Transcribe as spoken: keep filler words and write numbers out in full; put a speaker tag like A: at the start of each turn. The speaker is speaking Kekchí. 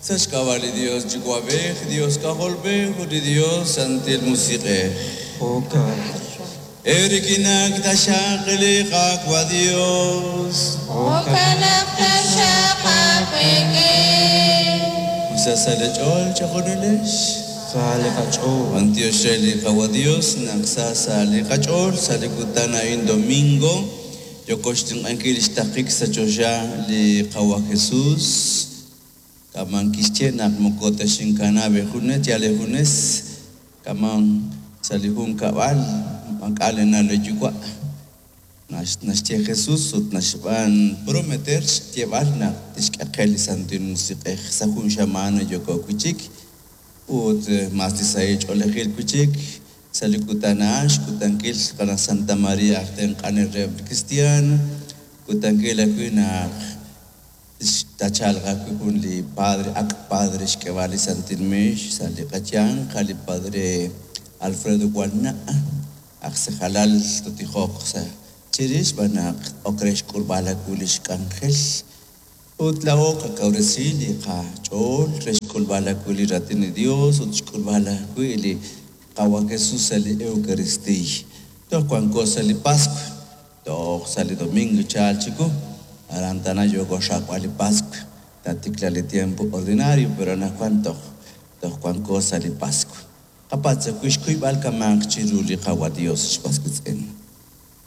A: Sa' xk'ab'a' li Dios Yuwa'b'ej, Dios K'ajolb'ej ut li Dios Santil Musiq'ej.
B: Jo'kan.
A: Erikinak taxaq li Qaawa' Dios.
C: Jo'kanaq taxaq aawik'in.
A: Sa' sa' li ch'ool chajunilex.
B: Sa' li qach'ool.
A: B'antiox re li Qaawa' Dios naq sa' sa' li qach'ool sa' li kutan a'in domingo yoko xtenq'ankil xtaqik sa' choxa li Qaawa' Jesus. Kaman kixye naq moko texinkanab' junes yal junes kaman sa' li junkab'al maak'a' li na' li yuwa'. Nax- naxye Jesus ut naxb'aan prometer xyeeb'al naq tixk'e qe li Santil Musiq'ej sa' jun xamaana yoko wi' chik ut mas li sahil ch'oolejil wi' chik sa' li kutan a'an xkutankil qana Santa María aj tenq'anel reheb' li cristiano kutankil ajwi' naq tachalq ajwi' jun li padre ak' padre xk'eb'al li Santil Mix sa' li qayanq a' li padre Alfredo Walna' aj sejalal totijoq sa' chirix xb'aan naq ok re xk'ulb'al ajwi' li xk'anjel ut laa'o qakawresi li qach'ool re xk'ulb'al ajwi' li raatin li Dios ut xk'ulb'al ajwi' li Qaawa' Jesus sa' li Eucaristiy. Toj wanko sa' li Pascua, toj sa' li domingo chaal chiku, aran tana yoko xaqb'al li Pascua, tatikla li tiempo ordinario, pero anaqwan toj toj wanko sa' li Pascua. Qapatz' ajwi' xkuyb'al kamaaq chiru li Qaawa' Dios xpaswitz'en.